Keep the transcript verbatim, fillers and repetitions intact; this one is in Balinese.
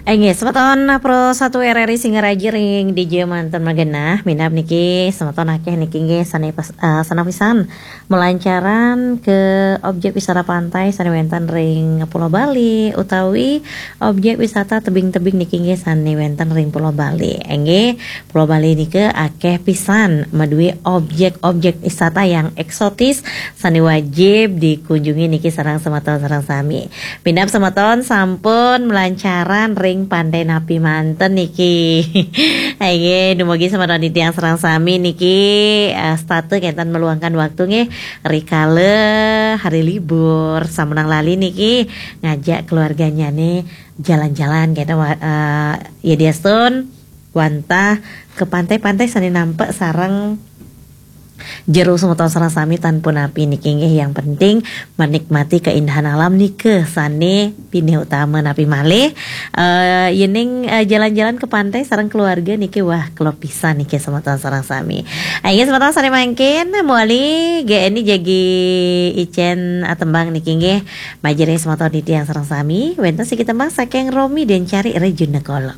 Inggih, semeton Pro satu R R I Singaraja ring dija manten magenah, minab niki semeton akeh niki nggih sane pas-, eh, sane pisan melancaran ke objek wisata pantai sane wenten ring Pulau Bali utawi objek wisata tebing-tebing niki nggih sane wenten ring Pulau Bali. Inggih, Pulau Bali nika akeh pisan madue objek-objek wisata yang eksotis sane wajib dikunjungi niki sareng semeton sareng sami. Minab semeton sampun melancaran ring pantai napi manten niki. Inggih, dumugi semeton titiang sareng sami niki, eh, setata kenten meluangkan waktu nggih, rikala hari libur, sampunang lali niki ngajak keluarganyane jalan-jalan kenten wa-, eh, ya diastun wantah ke pantai-pantai sane nampek sareng jero semeton sareng sami tan punapi niki nggih, yang penting menikmati keindahan alam nika sane pinih utama napi malih. Eh, yening, eh, jalan-jalan ke pantai sareng keluarga niki wah kelop pisan niki semeton sareng sami. Inggih semeton sane mangkin mawali G N I jagi icen, eh, tembang niki nggih. Majeng ring semeton titiang sareng sami wenten siki tembang saking Romi dan Cari Rejuna Kolok.